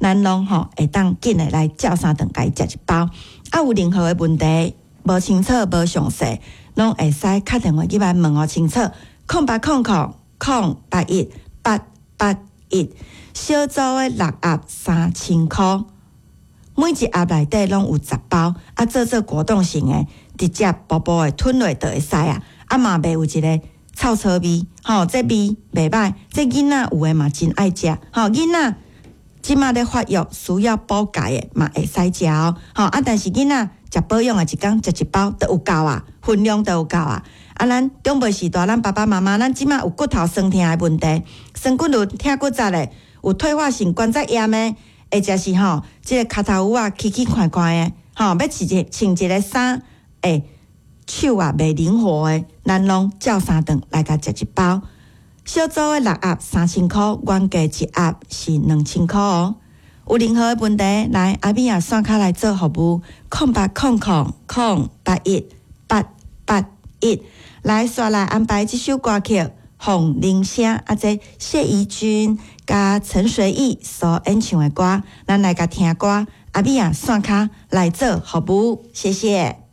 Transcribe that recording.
咱攏吼會當緊的來照三頓共伊食一包。啊，有任何的問題無清楚、無詳細，攏會使敲電話入來問予清楚。0800 081 881，小組的六盒3000箍，每一盒內底攏有10包，啊，做做果凍型的，直接薄薄的吞落就會使啊。啊嘛袂有一个臭臭味，吼，這味袂歹。這囡仔有的嘛真愛食，吼，囡仔這馬咧發育需要補鈣的嘛會使食哦，吼啊！但是囡仔食保養的，一工食一包就有夠啊，分量就有夠啊。啊，咱長輩時代，咱爸爸媽媽，咱這馬有骨頭酸痛的問題，酸骨輪、疼骨節的，有退化性關節炎的，或者是吼，這个跤頭趺仔起起寬寬的，吼，欲穿一穿一个衫，欸，手啊袂靈活的，咱攏照三頓來共食一包。小組的六盒3000箍，原價一盒是2000箍哦。有任何的問題，來阿美仔線跤來做服務，0800 081 881。來煞來安排這首歌曲《鳳鈴聲》，啊，這謝宜君佮陳隨意所演唱的歌，咱來共聽歌。阿美仔線跤來做服務，謝謝。